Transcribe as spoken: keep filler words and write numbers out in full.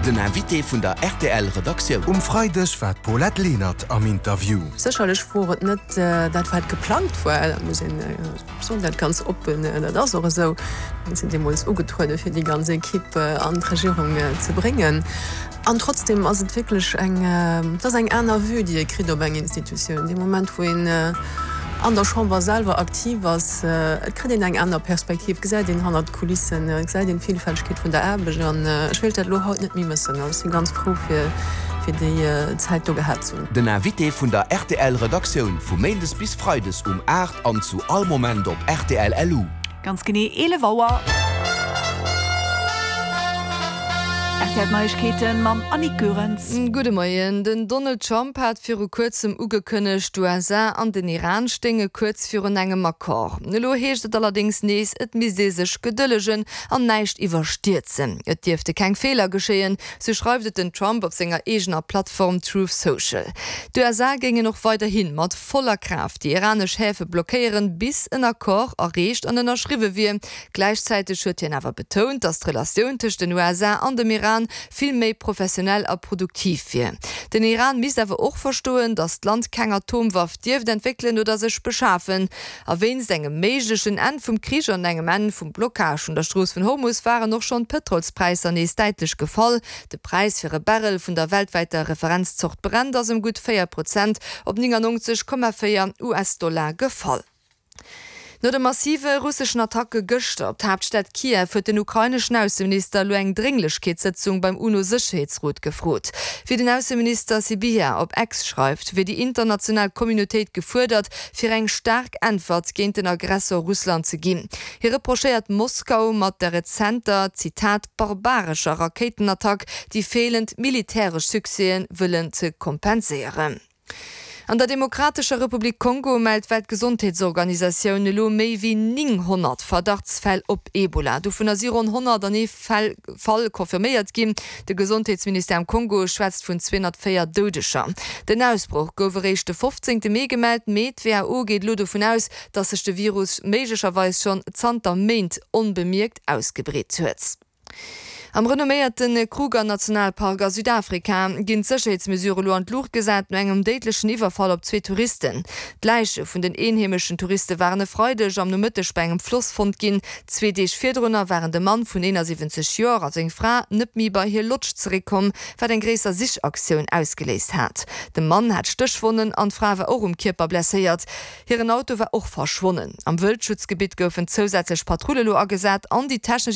Den Invité vun der R T L Redaktioun. Um Freideg war d'Paulette Lenert am Interview. Sécherlech wor et net äh, dat wat geplangt war, dat muss een äh, soen, dat ganz oppen, äh, dat ass och esou. Mir sinn deemools ugetruede fir déi ganz Ekipp äh, an d'Regierung äh, ze bréngen. An trotzdem ass et wierklech eng äh, dat ass eng aner Vue, déi ee kritt op eng Institutioun. Dee Moment wou een äh, an der Chamber selwer aktiv ass, äh, kritt een eng aner Perspektiv, gesäit een hannert d'Kulissen, äh, gesäit een d'Villfältegkeet vun der Aarbecht an äh, ech wéilt dat lo haut net méi mëssen. Also, ech si ganz frou fir fir déi äh, Zäit do gehat ze hunn. Den Invité vun der R T L Redaktioun vu Méindes bis Freides um aacht an zu all Moment op R T L L U. Ganz genee eelef Auer. R T L Neiegkeeten mam Annick Goerens. Gudde Moien. Den Donald Trump hat viru kuerzem ugekënnegt, d'U S A an den Iran stéinge kuerz virun engem Accord. Elo heescht et allerdéngs nees, et misst ee sech gedëllegen an näischt iwwerstierzen. Et dierfte keng Feeler geschéien, sou schreift et den Trump op senger eegener Plattform Truth Social. D'U S A géingen och weiderhi mat voller Kraaft déi iranesch Häfe blockéieren, bis en Accord erreecht an ënnerschriwwe wier. Gläichzäiteg huet hien awer betount, datt d'Relatioun tëscht den U S A an dem Iran vill méi professionell a produktiv wier. Den Iran misst awer och verstoen, datt d'Land keng Atomwaff dierft entwéckelen oder sech beschafen. A wéinst engem méiglechen Enn vum Krich an engem Enn vum Blockage vun der Strooss vun Hormus waren och schonn d'Pëtrolspräisser nees däitlech gefall. De Präis fir e Barrel vun der weltwäiter Referenzzort Brent ass ëm gutt véier Prozent op néngannonzeg Komma véier U S-Dollar gefall. No de massive russeschen Attacke gëschter op d'Haaptstad Kiew huet den ukraineschen Ausseminister elo eng Drénglechkeetssëtzung beim UNO-Sécherheetsrot gefrot. Wéi den Ausseminister Sybiha op X schreift, wier déi international Communautéit gefuerdert, fir eng staark Äntwert géint den Aggressor Russland ze ginn. Hie reprochéiert Moskau mat der rezenter, Zitat, barbarescher Rakéitenattack déi feelend militäresch Succèsen wëllen ze kompenséieren. An der Demokratescher Republik Kongo mellt d'Weltgesondheetsorganisatioun elo méi wéi nénghonnert Verdachtsfäll op Ebola. Dovunner si ronn honnert an ee Fall confirméiert ginn. De Gesondheetsministère am Kongo schwätzt vun zweehonnertvéier Doudeger. Den Ausbroch gouf eréischt de fofzéngte Mee gemellt, mee d'W H O geet elo dovun aus, datt sech de Virus méiglecherweis schonn zanter Méint onbemierkt ausgebreet huet. Am renomméierte Kruger Nationalpark a Südafrika ginn d'Sécherheetsmesurë lo an d'Luucht gesat no engem déidlechen Iwwerfall op zwee Touristen. D'Läiche vun den eenheemeschen Touriste waren e Freideg am Nomëtteg bei engem Floss fonnt ginn. Zwee Deeg virdrunner waren de Mann vun eenasiwwenzeg Joer a seng Fra net méi bei hir Lodge zeréckkomm, wat eng gréisser Sichaktioun ausgeléist hat. De Mann hat Stéchwonnen an d'Fra war och um Kierper blesséiert. Hiren Auto war och verschwonnen. Am Wëldschutzgebitt goufen zousätzlech Patrulle lo agesat an déi technesch